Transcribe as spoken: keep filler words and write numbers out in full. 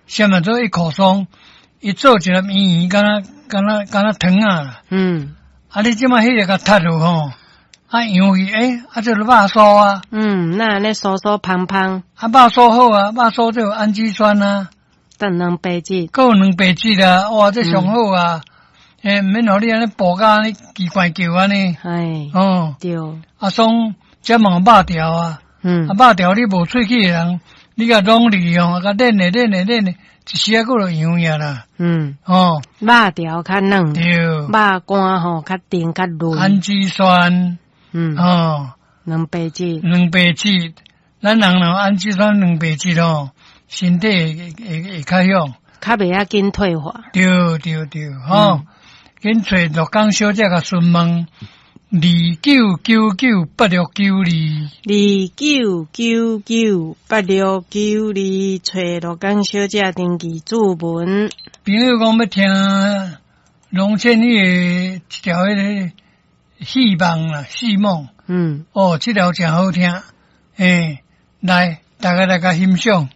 啥物做一箍霜，伊做一粒圓圓，敢若敢若敢若糖仔啦。嗯。啊，你這擺彼个共踢落吼，啊揚去，欸，啊這就肉酥啊。嗯，那按呢酥酥芳芳。啊，肉酥好啊，肉酥這有氨基酸啊。等蛋白質。閣有蛋白質啊，哇，這上好啊！欸，毋免予你按呢哺甲按呢奇怪叫按呢。哎。哦。對。啊，爽，這嘛有肉條啊。嗯。啊，肉條你無喙齒的人，你共攏入吼，共練咧練咧練咧，一時仔閣就揚去啦。嗯。哦。肉條較軟。對。肉乾吼較甜較潤。氨基酸。嗯。哦。蛋白質。蛋白質，咱人若氨基酸蛋白質吼，身體會會會較響。較袂遐緊退化。對對對，吼，緊揣樂江小姐共詢問二九九九八六九二。二九九九八六九二，揣樂江小姐登記注文。朋友講欲聽龍倩女的一條彼个戲夢啦，戲夢。嗯。哦，這條誠好聽，欸，來，大家來共欣賞。